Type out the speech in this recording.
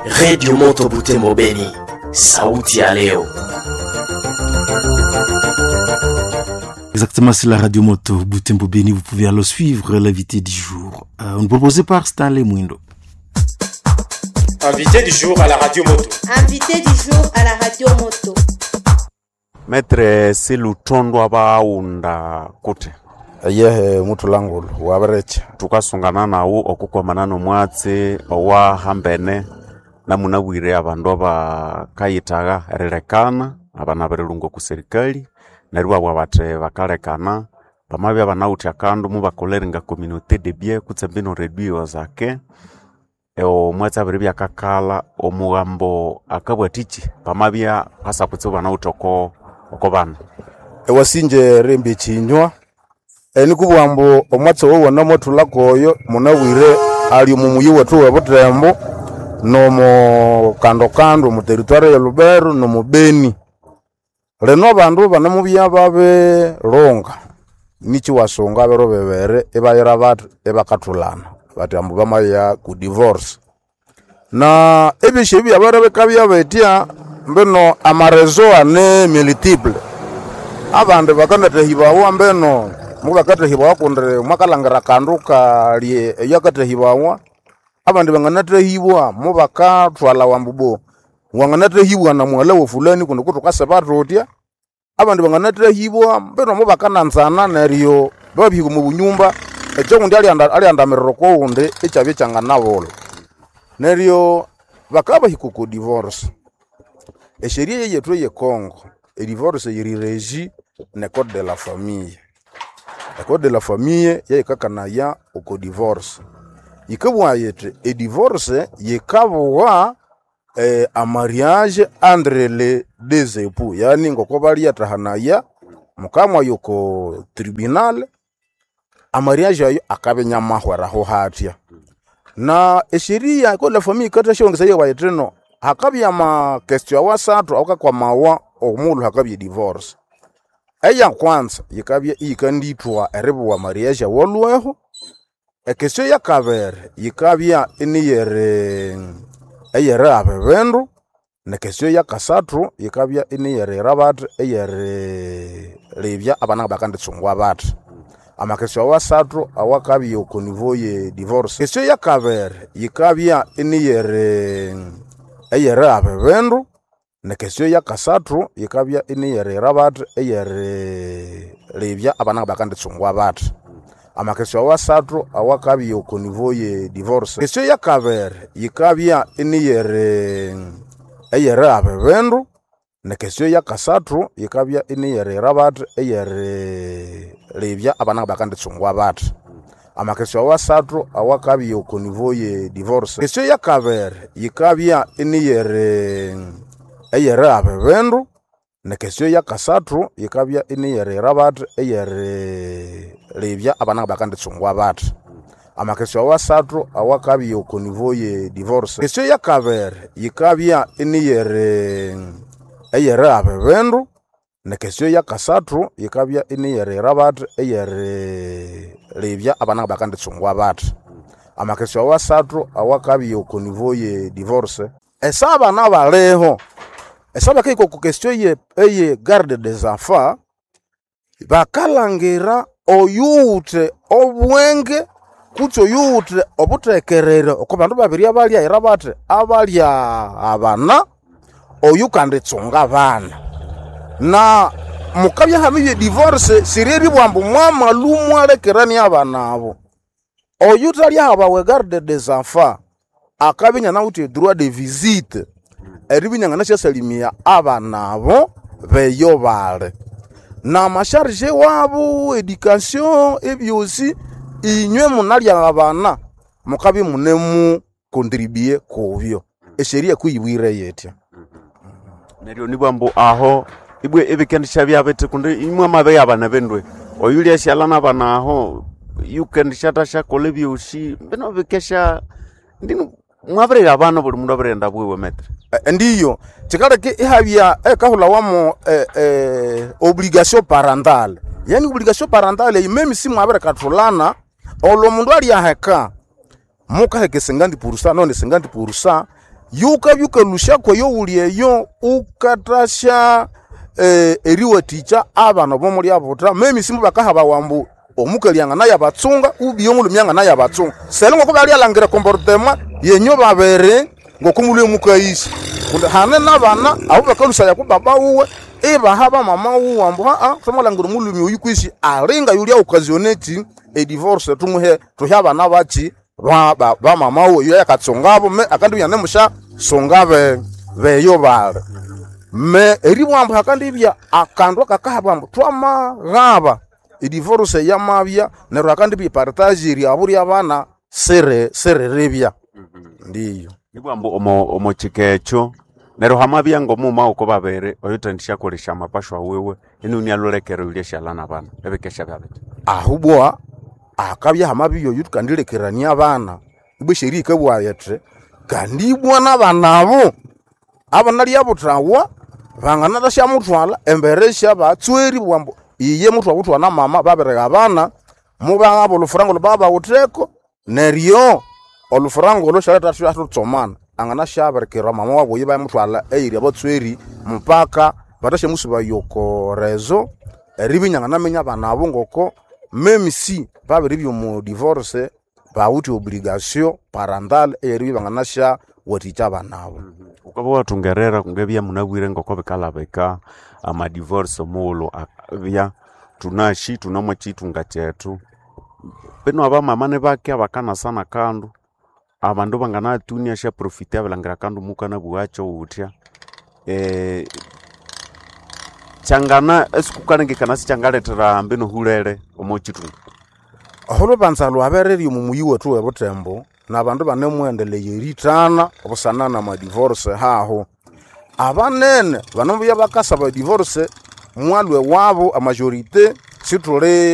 Redio Moto Butembo Beni, sauti ya leo. Exactement, c'est la radio Moto Butembo Beni. Vous pouvez alors suivre l'invité du jour. On proposé par Stanley Mwindo. Invité du jour à la radio moto. Invité du jour à la radio moto. Maître Silutondwa baunda kuti yehe muthu langulu wabirecha tukasungana nawu okukwamana nomwatsi owahambene namunabwire abandu abakayitagha erilekana abana abirilunga oku serikali neryo ibabugha bathi bakalekana bamabya banawithe akandu mubakolere nga communauté de bien kutse mbino réduire zake omwatsi abiribya akakalha omughambo akabwathiki bamabya hasa kutsibu banawithe oko oko bana. Ewasinje rimbi chinywa enikubugha ambu omwatsi owo namuthulako oyo munabwire ali omu muyi wethu webutembo nomu kando-kando omu territoire ya Lubero nomu Beni. Lino abandu banemubya babilunga niki wasunga biro bibiri ibayira bathi ibakathulana bathi ambu bamaya ku divorce. Na ebyosi ebi byabere bikabya bitya mbino amarezo ane multiple. Abandi bakanathahibawa mbino mubakathahibawa kundi mwakalhangira akandu kali eyakathahibawa. Abandi banganathahibwa mubakathwalawa ambu bo wanganathahibwa na mughalha wa fulani kundi kuthukasiba thutya. Abandi banganathahibwa mbino mubakananzana neryo babihika omu bunyumba ekyowundi alyandamirira okowundi ikyabya ikyanganabulha. Neryo bakabahika oko divorce, esheria yeyethu eye Congo edivorce yiri regi ne code de la famille. Ecode de la famille yeyikakanaya oko divorce. Yikabugha yithi edivorce yikabugha amariage entre les deux époux, yani ngoko balyathahanaya mukamwaya oko tribunal, amariage ayo akabya inyamahweraho hatya. Na esheria ecode de la famille yikathasyongesaya ibugha yithino hakabya ama question awasathu awakakwamawa omughulhu hakabya edivorce. Eyakwanza yikabya iyikandithwa eribugha mariage awalhweho. Ekesyo yakabiri yikabya iniyeri eyerigaba ebindu, nekesyo yakasathu yikabya iniyerira bathi eyerilebya abana ngabakanditsungwa bathi. Amakesyo awasathu awakabya oko niveau ye divorce. Kesyo yakabiri yikabya iniyeri eyerigaba ebindu, nekesyo yakasathu yikabya iniyerira bathi eyerilebya abana ngabakanditsungwa bathi. Amakesyo awasathu awakabya oko niveau ye divorce. Kesyo yakabiri yikabya iniyeri eyerigaba ebindu, nekesyo yakasathu yikabya iniyerira bathi eyerilebya abana ngabakanditsungwa bathi. Amakesyo awasathu awakabya oko niveau ye divorce. Kesyo yakabiri yikabya iniyeri eyerigaba ebindu, nekesyo yakasathu yikabya iniyerira bathi eyerilebya abana ngabakanditsungwa bathi. Amakesyo awasathu awakabya oko niveau ye divorce. Kesyo yakabiri yikabya iniyeri eyerigaba ebindu, nekesyo yakasathu yikabya iniyerira bathi eyerilebya abana ngabakanditsungwa bathi. Amakesyo awasathu awakabya oko niveau ye divorce. Esa abana baliho, esa bakahika oko question eye eye garde des enfants, bakalhangira oyuwithe obwenge kutse oyuwithe obuthekerere oko bandu babiri abalyaghira bathi abalya abana, oyukanditsunga abana. Na mukabya hamibya edivorce siryeribugha ambu mwamalhwa mwalekerania abana abo. Oyuthalyahabawa egarde des enfants akabya inyanawithe edroit de visite eribya inyanganasyasalimia abana abo beyo bali. Namasharge wabo, education, ebyosi inywe munalya abana mukabya imunemu contribuer kubyo. Esheria kuyibwire yitya. Neryo nibugha ambu aho ibwe ibikendisya bithi kundi imwe mwamabya abana bindwe oyulyasyalha nabana aho yukendisyathasyakolha ebyosi mbino bikesya ndinu mwabirira abana buli mundu abirighenda bwiwe maître. Ndiyo kyikaleka ihabya ekahulhawamu obligation parentale, yani obligation parentale eyi meme simwabirikathulana olwo omundu alyaheka mukaheka 50% nonde 50% Yukabya ukalũsya kweyo wuli eyo ukathasya eriwathikya abana obo mulyabuta memisi bakahabawa ambu omukali anganayabatsunga ubiye omulhume anganayabatsunga. Selo ngoko balyalangira comportement yenyu babiri ngoko mulhwe mukayisya. Kundi hane nabana abo bakalhusaya ku baba wuwe ibaha bamama wuwe ambu thwamalhangira omulhume oyu kwisi alinga yulya occasionne eki edivorce, tumuhe tuhe abana baki ba bamama wuwe yuya akatsungabo me akandibya inanemusyasunga beyo bali. Me eribugha ambu hakandibya akandu akakahabwa ambu twamaghaba edivorce yamabya neryo hakandibya epartage eryabo ryabana siriribya. Ndiyo. Nibugha ambu omo kika ekyo neryo hamabya ng'omughuma w'oko babiri oyuthendisyakolesya amapashwa wiwe inuni alhulekera oyulya syalha n'abana ebikesya byabiti. Ahubwa akabya hamabya oyu thukandilekerania abana, ibwa esheria yikabugha yithi kandi ibwa n'abana abo abanalyabuthawa banganathasymuthwalha embere syabatsweri ibabugha ambu iye muthwabuthwa na mama babirighabana, mubaghaba olhufuranga olhwababawitheko neryo olhufuranga olho syalhetha thutsomana. Anganasyabirikira mama wabu oyo ibayamuthwalha eyiri abatsweri mupaka bathasyamusubaya oko rezo eribya inyanganaminya abana abo ngoko meme si babiribya omo divorce bawithe obligation parental eyeribya ibanganasyawathikya abana abo. Wukabya wathungerera ngabya munabwire ngoko bikalabika amadivorce omughulhu abya thunasi thune omo kyithunga kyethu. Binu abamama nibake abakanasa nakandu, abandu banganatunia syaprofita abilhangira akandu mukanabugha wuthya, kyangana esikukalengekana sikyangalethera mbinu hulere omo kyithunga. Olhubanza lwabererya omo muyi wethu webuthembo nabandu ibanemughendelhaya erithana busana namadivorce hahu. Abanene banemubya bakasaba edivorce mwalhwa ewabu amajorite sithuli.